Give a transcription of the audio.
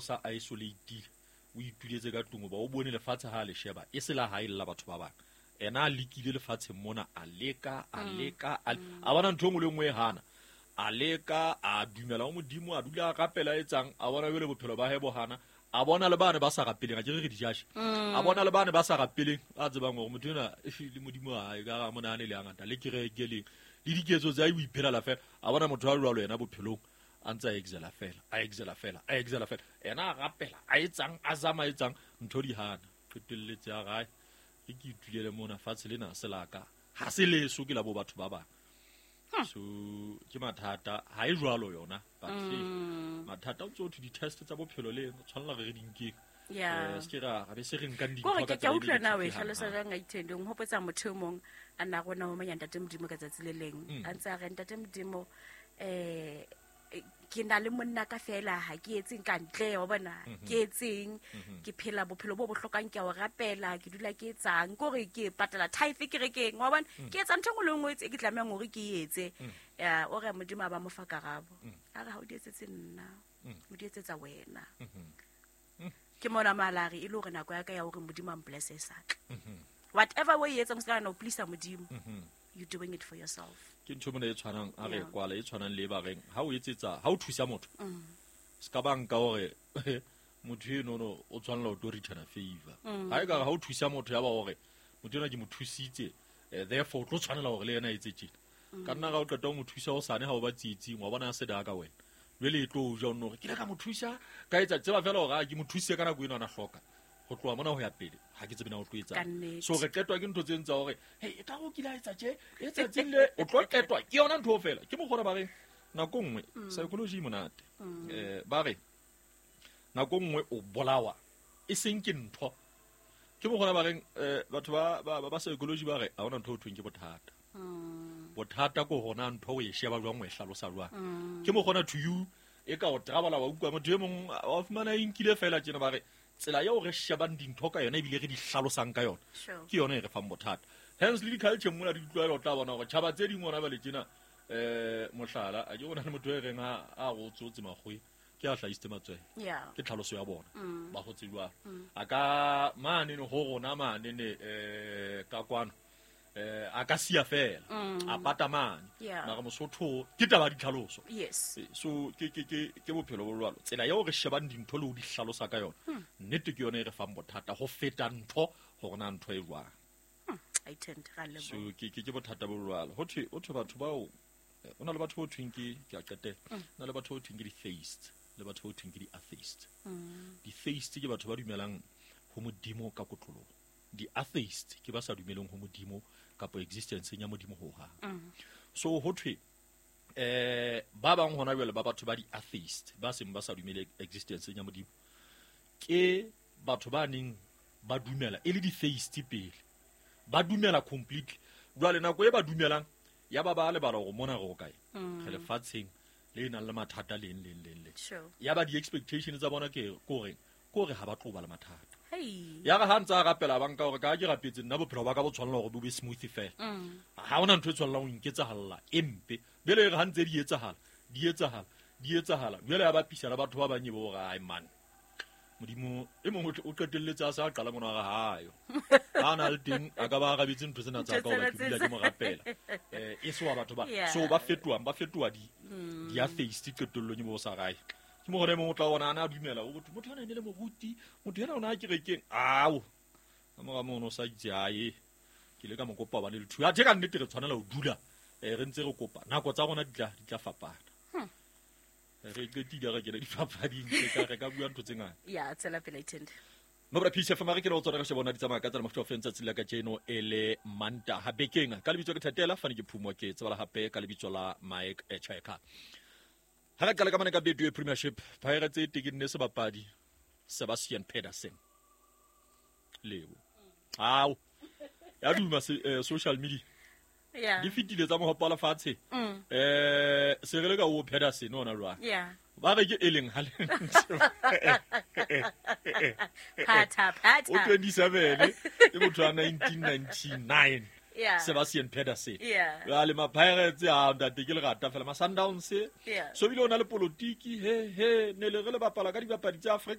Sa isolatile, o ituletse ka tlung, ba o bone lefatshe ha le sheba e se la hae la batho ba bang. Ena a lekile lefatsheng mona, a leka, a leka, a bona ntho e nngwe le nngwe e hana, a leka, a dumela ho Modimo, a dula a rapela, a etsang, a bona jwale bophelo ba hae bo hana, a bona le bane ba sa rapeleng, a ke re re dijashe, a bona le bane ba sa rapeleng, ba tsebang hore motho enwa le Modimo wa hae ka ga monahane le hangata, le kereke le diketso tsa hae, o iphelela fela. A bona motho a jwalo yena bophelong a ntse a exela fela, a exela fela, a exela fela, ena a rapela, a etsang, a zama, a etsang, ntho di hana, qetelletse a gae, ke ke itulele mona fatshe lena se la ka, ha se leso, ke la bo batho ba bang. So ke mathata, ha e jwalo yona, but mathata o ntse o thwe di-test tsa bophelo le tshwanela re re di nkeng. Se ke ra be se re nkang dintho Kore ka ke a tsela e utlwa na o e negative hlalosa hang-hang. jwang, Aithende? O nhopotsa motho e mong a na rona ho manya Ntate Modimo ka tsatsi le leng. A ntse a re, Ntate Modimo, ke na le monna ka fela, ha ke etseng ka ntle, wa bona, ke etseng, ke phela bophelo bo bohlokang, ke a o rapela, ke dula ke etsang, ke hore ke patala tithe kerekeng, wa bona, ke etsa ntho e nngwe le nngwe e ke tlamehang hore ke e etse. Ya, o re Modimo a ba mo fa karabo. A re ha o di etsetse nna, o di etsetsa wena. Ke mona malare e le hore nako ya ka ya hore Modimo a mblesse e sa tla. Whatever o e etsang, o se ka nahana o please Modimo. You're doing it for yourself. Ke ntho mona e tshwanang, a re kwala, e tshwanang le e ba reng, ha o etsetsa, ha o thusa motho, se ka ba nka hore motho eno no o tshwanela ho tlo return a favor. Ha e ka re ha o thusa motho ya ba hore motho enwa ke mo thusitse, therefore o tlo tshwanela hore le yena a etse tjena. Ka nna ga o qeta ho mo thusa hosane ha o ba tsietsing, wa bona a se da ka wena. Jwale e tlo o ja o nno hore ke ile ka mo thusa, ka etsa tseba fela hore, ke mo thusitse ka nako eno a na hloka. Ho tloha mona ho ya pele, ha ke tsebe na o tlo etsang. Ka nnete. So re qetwa ke ntho tse ntsa hore, hey, e ka re o kile a etsa tje, e tsatsing le, o tlo qetwa ke yona ntho fela. Ke mokgwa ba re nako nngwe psychology e monate. Ba re nako nngwe o bolawa e seng ke ntho. Ke mokgwa ba reng, batho ba psychology ba re ha hona ntho o thweng ke bothata. Bothata ke hona ntho o e sheba jwang, o e hlalosa jwang. Ke mokgwa to you e ka o travala wa utlwa motho e mong wa fumana e nkile fela tjena, ba re tsela eo re shebang dintho ka yona ebile re di hlalosang ka yona, ke yona e re fang bothata. Hence le di-culture mona di ditlwaelo, o tla bona hore tjhaba tse ding hona jwale tjena, mohlala, a ke bona le motho e reng ha a rotsotse makgoe, ke a hlahisitse matswele. Ke tlhaloso ya bona. Ba hotse jwalo. A ka mane ne ho rona mane ne, ka kwano, a ka siya fela, a pata mane. Mara Mosotho ke taba ya ditlhaloso. So ke bophelo bo jwalo. Tsela eo re shebang dintho le ho di hlalosa ka yona, nnete ke yona e re fang bothata ho feta ntho hore na ntho e jwang. I tend, ra leboha. So ke bothata bo jwalo. Ho thwe, ho thwe batho bao, ho na le batho bo thweng ke, ke a qetela. Ho na le batho bo thweng ke di-theists, le batho bo thweng ke di-atheists. Di-theists ke batho ba dumelang ho Modimo ka kotloloho. Di-atheists ke ba sa dumeleng ho Modimo kapa existence ya Modimo ho hang. So ho thwe, ba bang hona jwale ba batho ba di-atheists ba seng ba sa dumele existence ya Modimo, ke batho ba neng ba dumela e le di-theists pele, ba dumela completely. Jwale nako e ba dumelang ya ba ba lebala hore mona re ho kae, re lefatsheng le nang le mathata leng, leng, leng, leng. Ya ba di-expectation tsa bona ke hore, ke hore ha ba tlo ba le mathata. Ya re ha ntse a rapela ba nka hore ka ha ke rapetse nna bophelo ba ka bo tshwanela hore bo be smooth fela. Ha hona ntho e tshwanelang ho nketsahala e mpe. Jwale e re ha ntse di etsahala, di etsahala, di etsahala. Jwale ya bapisa le batho ba bang e bo hore, ai man, Modimo e mong o qetelletse a sa qala mona wa hae. Ha na le teng a ka ba arabetse ntho tsena tsa ka hoba ke dula ke mo rapela. E se wa batho ba. So ba fetoha, ba fetoha di atheist qetellong e bo sa rae. Ke mo hore mong o tla bona ana a dumela o motho, motho ana e ne le moruti, motho ena o na kerekeng. Ao. Ka mora mono o sa itse ae. Ke ile ka mo kopa ba le lethu. Athe ka nnete re tshwanela ho dula, re ntse re kopa. Nako tsa rona di tla fapana. Re qetile re kena dipapading, re ka bua ntho tse ngata. Ya, tswela pele, Ithende. Mobra Peace FM, re ke le ho tsona re shebona di tsamaya ka tsela mofuta o feng tsatsi la kajeno e le Mantaha bekeng. Ka lebitso ke Thatela, fane ke Phumo, ke tsebala hape ka lebitso la Mike Cheka. Ha re qala ka mane ka Betway Premiership, Pirates e tekenne sebapadi Sebastian Pedersen. Lebo. Ao. Ya duma social media. Di fetile tsa mohopa wa lefatshe. Se re le ka o Pedersen ona jwang? Ba re ke e leng ha le Phatha, phatha. O 27, ke motho wa 1999. Yeah. Sebastian Pedersen. Yeah. Jwale ma-Pirates a ntate ke lerata fela ma-Sundowns. Yeah. So bile o na le politiki he he ne le re le bapala ka dibapadi tsa Afrika.